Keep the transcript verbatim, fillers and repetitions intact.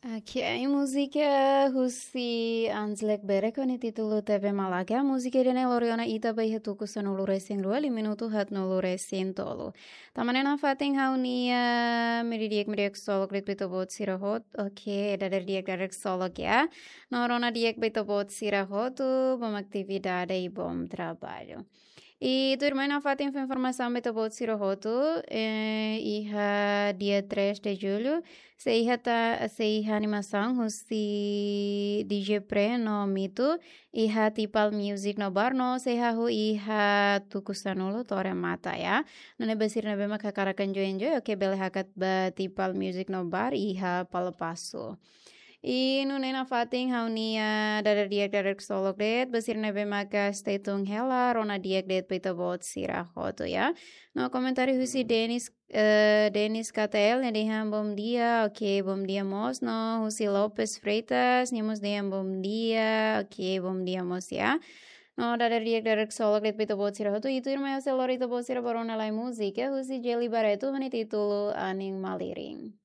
Oke, múzika husi Anzlek Berek ho nia títulu Tebe Malaka. Múzika ida-ne'e lori ona ita ba iha tuku sanulu-resin-rua, liu minutu haatnulu-resin-tolu. Tan ne'e nafatin ha'u-nia meri di'ak, meri di'ak ksolok de'it ba ita-boot sira hotu. Oke, dadeer di'ak, dadeer ksolok ya. No rona di'ak ba ita-boot sira hotu, bom atividade i bom traballu. I tuirmai nafatin fó informasaun ba ita-boot sira hotu, eh, iha dia três de julho, sei iha ta, sei iha animasaun husi D J Pre no Mitu, iha Tipal Music no Bar no sei hahú iha tuku sanulu Torre Mata ya. Nune'e ba sira ne'ebé mak hakarak enjoy enjoy, oke, bele hakat ba Tipal Music no Bar iha Palapasu. I nune'e nafatin ha'u-nia dadeer di'ak, dadeer ksolok de'it ba sira ne'ebé maka stay tune hela, rona di'ak de'it ba ita-boot sira hotu ya. No komentáriu husi Dennis, eh, Dennis K T L nia dehan bom dia, oke, bom dia mós, no husi Lopes Freitas nia mós dehan bom dia, oke, bom dia mós ya. No dadeer di'ak, dadeer ksolok de'it ba ita-boot sira hotu, i tuirmai ha'u sei lori ita-boot sira ba rona lai múzika husi Jelly Barreto ho nia títulu Anin Malirin.